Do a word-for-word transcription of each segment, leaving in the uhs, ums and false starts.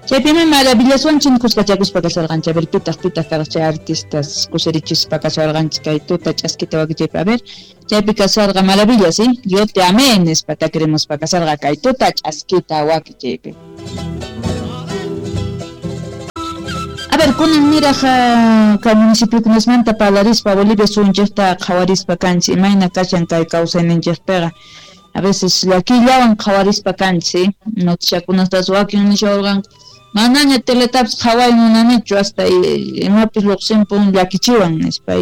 Chaypimi maravillaswanchik kuskachakuspa kasharqanchik. A ver, pitaq pitaq karqa chay artistas kusirichispa kasharqanchik kay tuta ch'askita wakichaypi. A ver, chaypi kasharqa maravillas, ¿sí? Yo te amé nispa takirimuspa kasharqa kay tuta ch'askita wakichaypi. A ver, kunan niraq kay municipiokunasmanta parlarispa Bolivia suyunchikta qhawarispa kanchik imayna kashan kay kawsayninchikpiqa. A veces llakillawan qhawarispa kanchik, noticiakunastas wakin nishawarqanku manaña teletapis qhaway munanichu hasta imapis lluqsinpun llakichiwan nispa.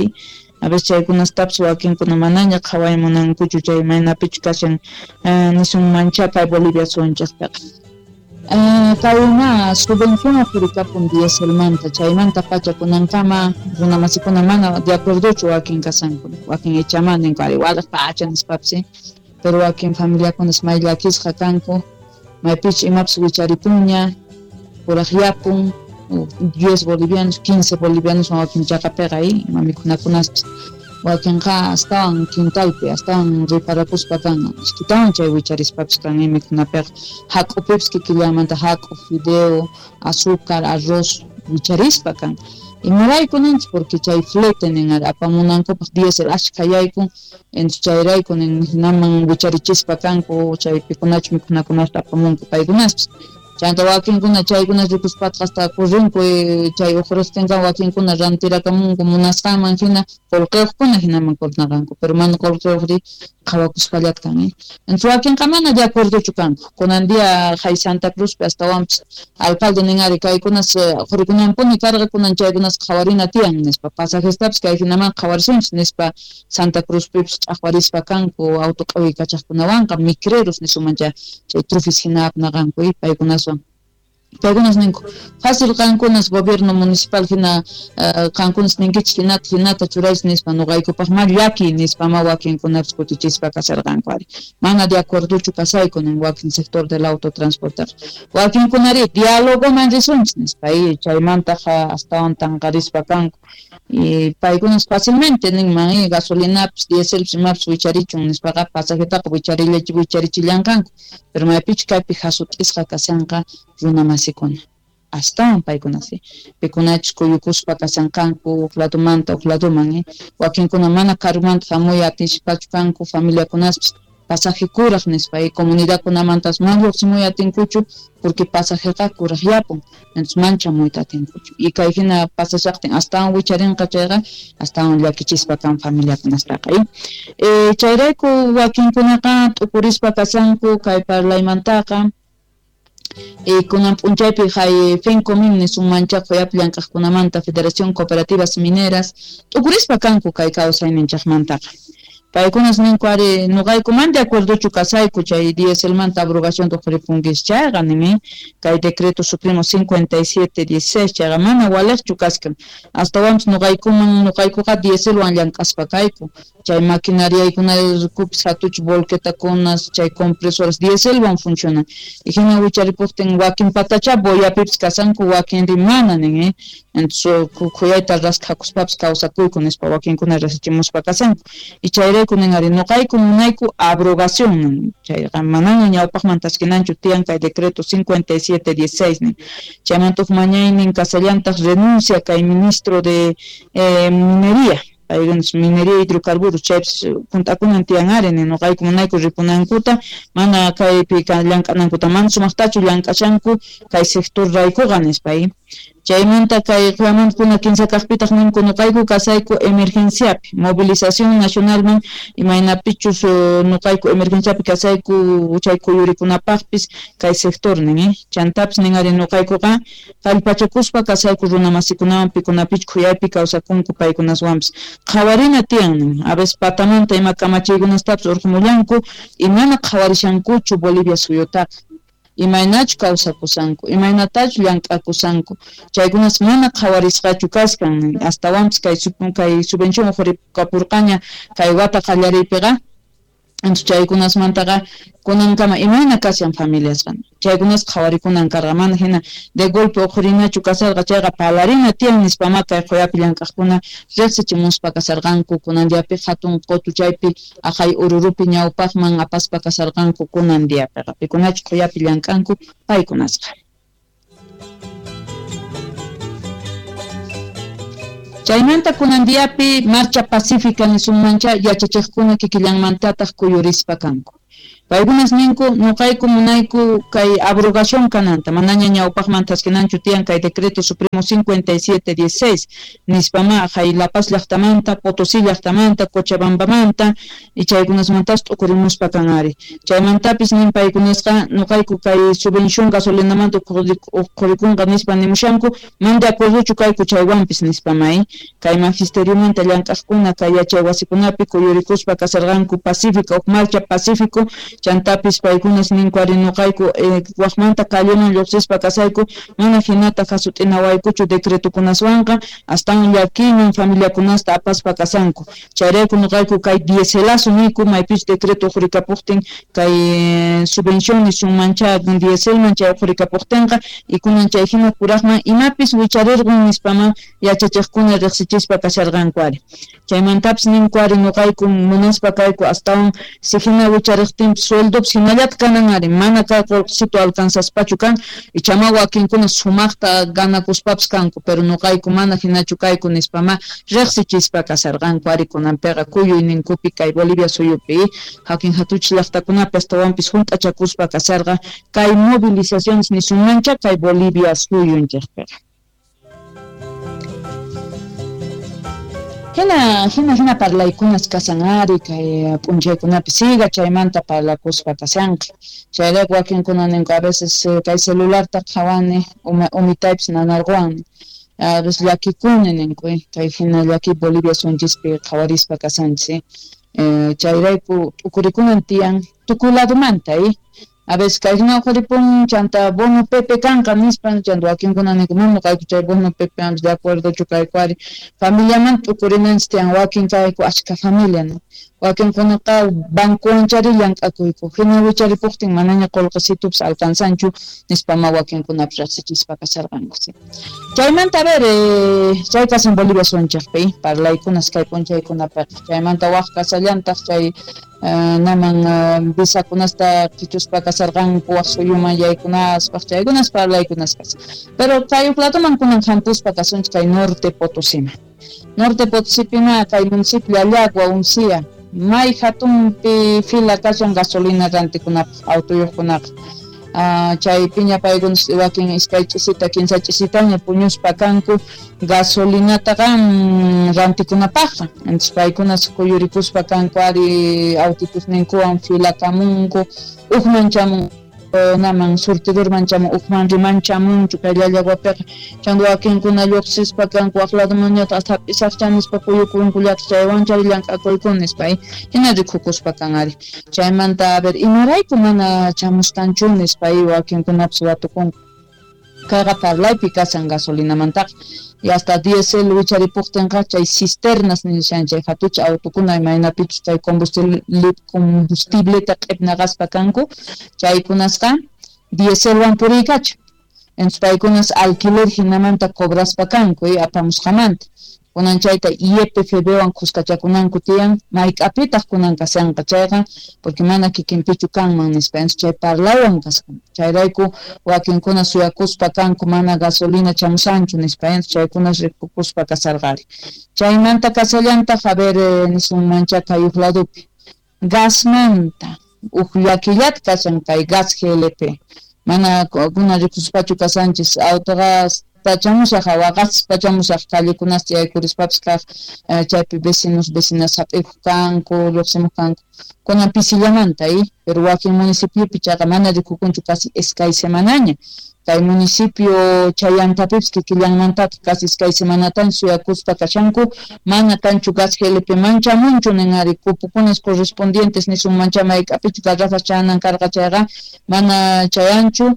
A veces chaykunastapis wakinkuna manaña qhaway munankuchu chay imaynapichu kashan nisunmancha kay Bolivia suyunchikpiqa. Kayna subvención uqhurikapun dieselmanta chaymanta pacha kunankama runamasikuna mana de acuerdochu wakin kasanku wakin ichama ninku ari walaq pacha nispapis, pero wakin familiakunas may llakisqa kanku maypich imapis wicharipunña kuraqyapun diez bolivianos quince bolivianos wakin chaqapiqa ima mikhunakunaspis wakinqa astawan quintalpi astawan riparakuspa kan iskitawan chay wicharispapis kan mikhunapiqa hak'upipis kikillamanta hak'u fideo azúcar arroz wicharispa kan. Imarayku ninchik porque chay flete nin apamunankupaq diésel ashka yaykun entonces chayrayku nin hinaman wicharichispa kanku chay pikunachu mikhunakunata apamunku paykunaspis. Chayta wakinkuna chaykuna rikuspatqa hasta kurrinku chay uqhurustinqa wakinkuna rantirakamunku munasqanman hina qullqiyuqkuna hinaman kurnaqanku pero mana qullqiyuqri qhawakuspallata kan. Entonces wakinqa mana de acuerdochu kanku kunan día hay Santa Cruzpi astawanpis alcalde nin ari kaykunas uqhurikunanpuni karqa kunan chaykunas qhawarina tiyan nispa pasajestapis kay hinaman qhawarisunchis nispa Santa Cruzpipis ch'aqwarispa kanku auto q'uwaykachaqkunawanqa micreros nisumancha chay trufis hina apnaqanku paykunas. Paykunas ninku fácil qankunas gobierno municipal hina qankunas ninkichik hinata hinata churaychis nispa nuqaykupaq ma llaki nispa ma wakinkunapis kutichispa kasharqanku ari mana de acuerdochu kasayku nin wakin sector del autotransporte wakinkunari dialogoman risunchis nispa chaymantaqa astawan tanqarispa kanku y paykunas fácilmente ninman gasolinapis dieselpis imapis wicharichun nispaqa pasajetaqa wicharilla wicharichillanqanku pero maypichu kaypi hasut'isqa kashanqa runamasikuna astawan paykuna sí pikunachus kuyukuspa kashanqanku huk ladumanta huk laduman wakinkuna mana karumanta hamuy atispachu kanku familiakunaspis pasaje kuraq nispa y comunidadkunamantas mana lluqsimuy atinkuchu porque pasajeqa kuraqyapun entonces manchamuyta atinkuchu y kay hina pasashaqtin astawan wicharinqa chayqa astawan llakichispa kan familiakunastaqa. eh chayrayku wakinkunaqa t'ukurispa kashanku kay parlaymantaqa. Kunan p'unchaypi hay FENCOMIN nisunmancha quyapi llank'aqkunamanta Federación Cooperativas Mineras t'ukurispa kanku kay kawsayninchaqmantaqa. Paykunas ninku ari nuqaykuman de acuerdochu kasayku chay dieselmanta abrogación uqhuripunkis chayqa nimi kay decreto supremo cincuenta y siete dieciséis chayqa mana waliqchu kaskan astawanpis nuqaykuman nuqaykuqa dieselwan llank'aspa kayku chay maquinariaykunarikupis hatuch volquetakunas chay compresores dieselwan funcionan y hina wicharipuptin wakin patacha boyapipis kasanku wakinri mana nin entonces khuyayta raskhakuspapis kawsakuyku nispa wakinkuna rasichimuspa kasanku y chayrayku nin ari nuqayku munayku abrogación chayqa manaña ñawpaqman taskinanchu tiyan kay decreto cincuenta y siete dieciséis nin chaymanta huk mañaynin kasallantaq renuncia kay ministro de eh, minería paykunas minería hidrocarburos chaypis hunt'akunan tiyan ari nin nuqayku munayku ripunankuta mana kaypi llank'anankuta mana sumaqtachu llank'ashanku kay sector raykuqa nispa. Chaymanta kay qhuyamanta kinsa kaqpitaq ninku nuqayku kasayku emergenciapi movilización nacionalman imaynapichus nuqayku emergenciapi kasayku chay kuyurikunapaqpis kay sector nin chantapis nin ari nuqaykuqa kallpachakuspa kasayku runamasikunawan pikunapich khuyaypi kawsakunku paykunaswanpis qhawarina tiyan nin a veces patamanta ima kamachiykunastapis urqumullanku y mana qhawarishankuchu Bolivia suyutaqa imaynachu kawsakusanku imaynatachu llank'akusanku chaykunas mana qhawarisqachu kaskan astawanpis kay kay subvención uqhurikapurqaña kay wata qallariypiqa entonces chaykunasmantaqa kunankama imayna kashan familiasqa chaykunas qhawarikunan karqa mana hina de golpe uqhurinachu kasarqa chayqa parlarina tiyan nispama kay quyapi llank'aqkuna riqsichimuspa kasarqanku kunan diapi hatun qutu chaypi aqhay ururupi ñawpaqman apaspa kasarqanku kunan diapiqa pikunachu quyapi llank'anku paykunasqa. Chaymanta kunan diapi marcha pacífica nisunmancha yachachiqkuna kikillanmantataq kuyurispa kanku. Paykunas ninku nuqayku munayku kay abrogación kananta manaña ñawpaqman taskinanchu tiyan kay decreto supremo cincuenta y siete dieciséis nispama hay La Paz llaqtamanta, Potosí llaqtamanta, Cochabambamanta y chaykunasmantas t'ukurimuspa kan ari. Chaymantapis nin paykunasqa nuqayku kay subvención gasolinamanta uqhurikunqa nispa nimushanku man de acuerdochu kayku chaywanpis nispama kay magisteriomanta llank'aqkuna kay yachay wasikunapi kuyurikuspa kasarqanku pacífico huk marcha pacífico chantapis paykunas ninku ari nuqayku eh, waqmanta calleman lluqsispa kasayku mana hinata hasut'inawaykuchu decretokunaswanqa astawan llakiyman familiakunasta apaspa kasanku chayrayku nuqayku kay dieselazo niyku maypis decreto uqhurikapuqtin kay subvención nisunmancha dieselman chay uqhurikapuqtinqa y kunan chay hina kuraqman imapis wicharirqun nispaman yachachiqkuna riqsichispa kasharqanku ari chaymantapis ninku ari nuqayku munaspa kayku astawan si hina wichariqtin sueldo hinallataq kanan ari mana kay qullqisito alcanzaspachu kan ichama wakinkuna sumaqta ganakuspapis kanku pero nuqayku mana hinachu kayku nispama riqsichispa kasarqanku ari kunanpiqa kuyuyninkupi kay Bolivia suyupi hakin hatuchis llaqtakunapi astawanpis hunt'achakuspa kasarqa kay movilizaciones nisunmancha kay Bolivia suyunchikpiqa. Hina, hina, hina parlaykunas kasan ari kay p'unchaykunapi siga chaymanta parlakuspa kasanqa chayrayku wakinkuna ninku a veces kay celularta qhawani umitaypis nanarquwan a veces llakikuni ninku kay hina llaki Bolivia suyunchispi qhawarispa kasanchis eh, chayrayku t'ukurikunan tiyan tukuy ladumanta eh? A veces kay hina uqhuripun chanta bono Pepe kanqa nispa chanta wakinkuna ninku mana kayku chay bono Pepe ampis de acuerdochu kayku ari familiaman t'ukurinanchis tiyan wakin kayku achka familia no wakinkunaqa bancowanchari llank'akuyku hina wicharipuqtin manaña qullqisitupis alcanzanchu nispama wakinkunapis riqsichispa kasharqanku. Chaymanta a ver eh, chay kasan Bolivia suyunchikpi parlaykunas kay p'unchaykunapiqa chaymanta waq kasallantaq chay Uh, naman uh, visakunasta qichuspa kasarqanku waq suyuman yaykunaspaq chaykunas parlaykunas kasan pero kay huk latuman kunan hampuspa kasunchik kay Norte Potosima Norte Potosipina kay municipio Llallagua Uncía may hatunpi fila kashan gasolina rantikunapaq autoyuqkunaqa Uh, chay piña paykunas wakin iskay ch'isita kinsa ch'isitaña puñuspa kanku gasolinataqa mm, rantikunapaqqa entonces paykunas kuyurikuspa kanku ari autitusninkuwan filakamunku ukman chamun naman surtidorman chamun ukman riman chamunchu kay Llallaguapiqa chanta wakinkuna lluqsispa kanku waq ladumanñataq hasta hap'isaqcha nispa kuyukunkullataq chaywanchari llank'akuykun nispa hina rikukuspa kan ari chaymanta a ver imarayku mana chamusqanchu nispa wakinkunapis watukunku kayqa parlaypi kasan gasolinamantaqa y hasta diésel wicharipuqtinqa chay cisternas nishan chay hatucha autukuna imaynapichus chay combustible combustibleta q'ipnaqaspa kanku chaykunasqa dieselwan puriykacha entonces paykunas alquiler hinamanta cobraspa kanku y apamusqamanta kunan chayta I E P F B wan kuskachakunanku tiyan mayk'apitaq kunan kasanqa chayqa porque mana kikinpichu kanman nispa entonces chay parlaywan kasqan chayrayku wakinkuna suyakuspa kanku mana gasolina chamusanchu nispa entonces chaykunas rikukuspa kasarqari chaymanta kasallantaq a ver eh, nisunmancha kay huk ladupi gasmanta huk llakillata kasan kay gas G L P mana kunan rikuspachu kasanchis autogas pachamusaq waqaspa pachamusaq callekunasta yaykurispapis kaq chaypi vecinos vecinas hap'ikuq kanku lluqsimuq kanku kunan pisillamanta eh pero wakin municipiopi chayqa mana rikukunchu casi iskay semanaña kay municipio Chayantapipis kikillanmantataq casi iskay semanataña suyakuspa kashanku mana kanchu gas G L P manchamunchu nin ari cupukunas correspondientes nisunmancha mayk'apichu garrafas chanan karqa chayqa mana chayanchu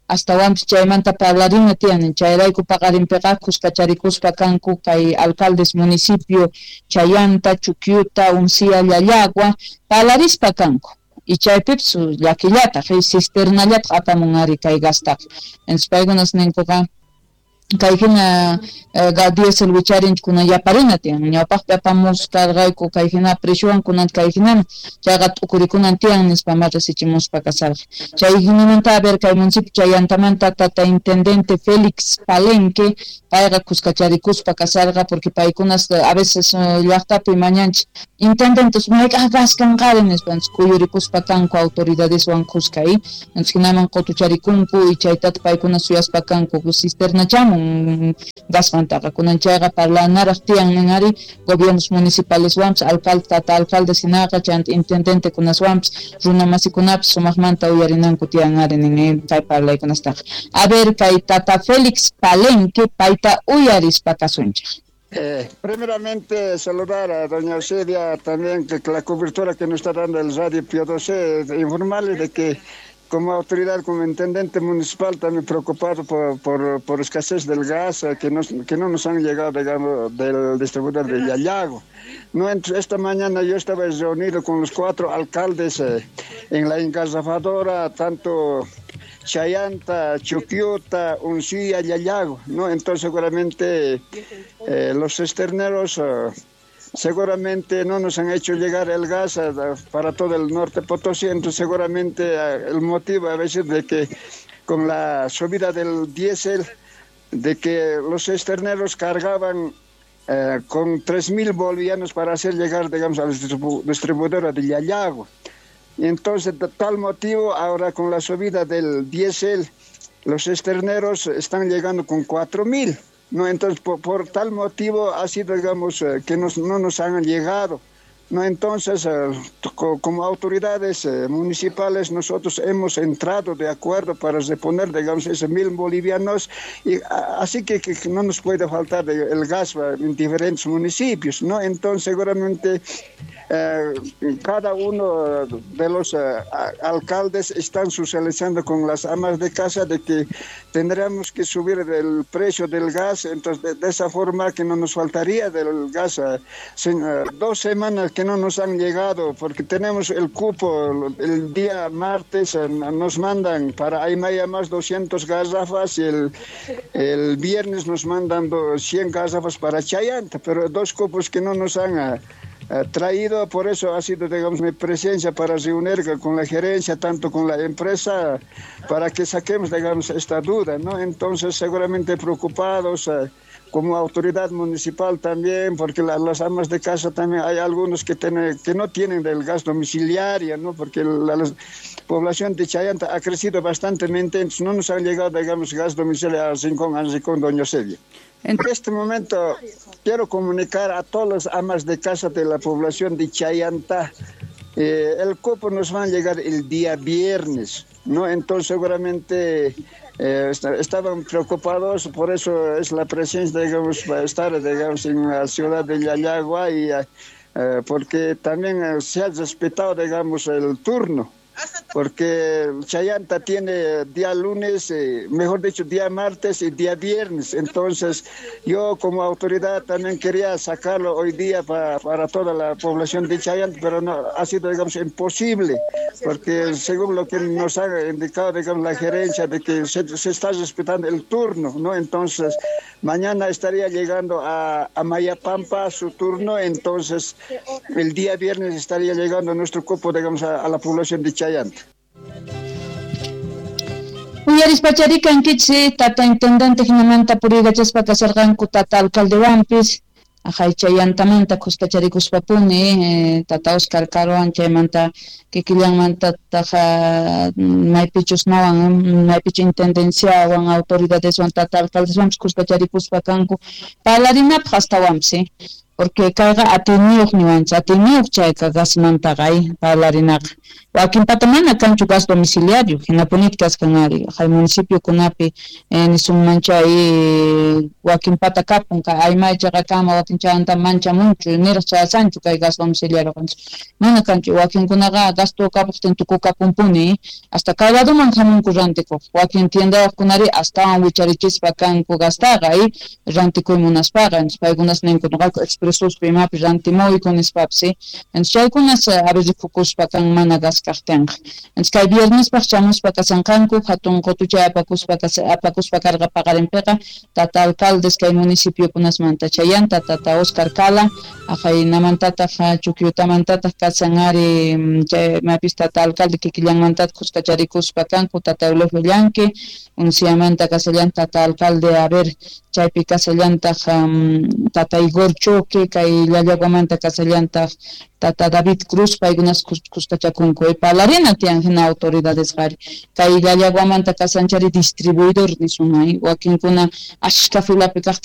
astawanpis chaymanta parlarina tiyan chayrayku paqarinpiqa kuskacharikuspa kanku kay alcaldes municipio Chayanta, Chuquiuta, Uncía, Llallagua parlarispa kanku y chaypipis llakillataq cisternallataq apamun ari kay gastaqa entonces paykunas ninkuqa Kay hina diésel wicharinchik kunan yaparina tiyan ñawpaqpi apamus karqayku kay hina preciuwan kunan kay hinami chayqa t'ukurikunan tiyan nispa ma risichimuspa kasarqa chay hinamanta a ver kay municipio Chayantamanta tata intendente Félix Palenque payqa kuskacharikuspa kasarqa porque paykunas a veces llaqtapi mañanchik intendentes mayk'aq gas kanqari nispa kuyurikuspa kanku autoridadeswan kuska entonces hinaman qutucharikunku y chaytata paykuna suyaspa kanku cisternachamun gasmantaqa kunan chayqa parlanaraq tiyan nin ari gobiernos municipaleswanpis alcalde tata alcaldes hinaqa chayanta intendentekunaswanpis runamasikunapas sumaqmanta uyarinanku tiyan ari nin kay parlaykunastaqa a ver kay tata Félix Palenque payta uyarispa kasunchik. Eh, primeramente saludar a doña Eusebia también, que la cobertura que nos está dando el Radio Pío doce, informarle de que como autoridad, como intendente municipal, también preocupado por, por, por escasez del gas que, nos, que no nos han llegado, digamos, del distribuidor de Llallago. No, esta mañana yo estaba reunido con los cuatro alcaldes eh, en la engarrafadora, tanto Chayanta, Chuquiuta, Uncía, Llallago, ¿no? Entonces seguramente eh, los cisterneros eh, seguramente no nos han hecho llegar el gas eh, para todo el norte Potosí, entonces seguramente eh, el motivo a veces de que con la subida del diésel, de que los cisterneros cargaban eh, con tres mil bolivianos para hacer llegar, digamos, a la distribu- distribuidora de Llallago. Y entonces, de tal motivo, ahora con la subida del diésel, los cisterneros están llegando con cuatro mil, ¿no? Entonces, por, por tal motivo ha sido, digamos, eh, que nos, no nos han llegado, ¿no? Entonces, eh, co- como autoridades eh, municipales, nosotros hemos entrado de acuerdo para reponer, digamos, esos mil bolivianos, y a, así que, que no nos puede faltar el gas en diferentes municipios, ¿no? Entonces, seguramente eh, cada uno de los eh, alcaldes están socializando con las amas de casa de que tendríamos que subir el precio del gas, entonces de, de esa forma que no nos faltaría del gas. Eh, sin, eh, dos semanas que no nos han llegado, porque tenemos el cupo, el día martes eh, nos mandan para Aymaya más doscientas garrafas y el, el viernes nos mandan cien garrafas para Chayanta, pero dos cupos que no nos han eh, traído, por eso ha sido, digamos, mi presencia para reunir con la gerencia, tanto con la empresa, para que saquemos, digamos, esta duda, ¿no? Entonces, seguramente preocupados eh, como autoridad municipal también, porque la, las amas de casa también hay algunos que, tienen, que no tienen del gas domiciliario, ¿no? Porque la, la población de Chayanta ha crecido bastante, entonces no nos han llegado, digamos, gas domiciliario al Rincón, al Rincón, doña Eusebia. En este momento quiero comunicar a todas las amas de casa de la población de Chayanta, eh, el cupo nos va a llegar el día viernes, ¿no? Entonces seguramente eh, estaban preocupados, por eso es la presencia, digamos, va a estar, digamos, en la ciudad de Llallagua, y, eh, porque también se ha respetado, digamos, el turno. Porque Chayanta tiene día lunes, eh, mejor dicho, día martes y día viernes. Entonces, yo como autoridad también quería sacarlo hoy día para, para toda la población de Chayanta, pero no, ha sido, digamos, imposible, porque según lo que nos ha indicado, digamos, la gerencia, de que se, se está respetando el turno, ¿no? Entonces, mañana estaría llegando a, a Mayapampa su turno, entonces el día viernes estaría llegando nuestro cupo, digamos, a, a la población de Chayanta. Uyarispacharikan kichsi tata intendente hinamanta puriykachaspa kasarqanku tata alcaldewanpis ajay Chayantamanta kuskacharikuspapuni eh, tata Oscar Caroan chaymanta kikillanmanta taja maypichus nawan maypichu intendenciawan autoridadeswan tata alcaldeswanpis kuskacharikuspa kanku parlarinapaq astawanpis eh? Porque kayqa atiyniyuq niwanchik, atiyniyuq chayqa gasmantaqa ay parlarinaqa. Wakinpata mana kanchu gas domiciliario, hinapunit kaskan ari, hay municipiokunapi eh, nisunman chay wakinpata kapun, kay aymay chaqakama wakin chayanta manchamunchu, niraq chayasanchu kay gas domiciliario mana kanchu, wakinkunaqa gasto kapuqtin tukukapunpuni, hasta kay laduman hamunku rantikuq, wakin tiendayuqkunari astawan wicharichispa kanku gastaqa ay rantikuy munaspaqa, entonces paykunas ninku nuqayku expresuspi imapi rantimuyku nispapis, entonces chaykunas a veces rikukuspa kan mana gas kaqtinqa. Entonces kay viernespaq chamuspa kasanqanku hatun qutuchay apakuspa apakuspa karqa paqarinpiqa tata alcaldes kay municipiokunasmanta chayanta tata Oscar Cala aqaynamantataq Chuquiotamantataq kasan ari chay mapis tata alcalde kikillanmantataq kuskacharikuspa kanku tata Eulogio Llanque Unciamanta kasallantaq tata alcalde a ver chaypi kasallantaq um, tata Igor Choque kay Llallaguamanta kasallantaq tata David Cruz paykunas kuskachakunku parlarina tiyan hina autoridades qari kay Llallaguamanta kasanchari distribuidor nisun wakinkuna ashka filapi kaqtin.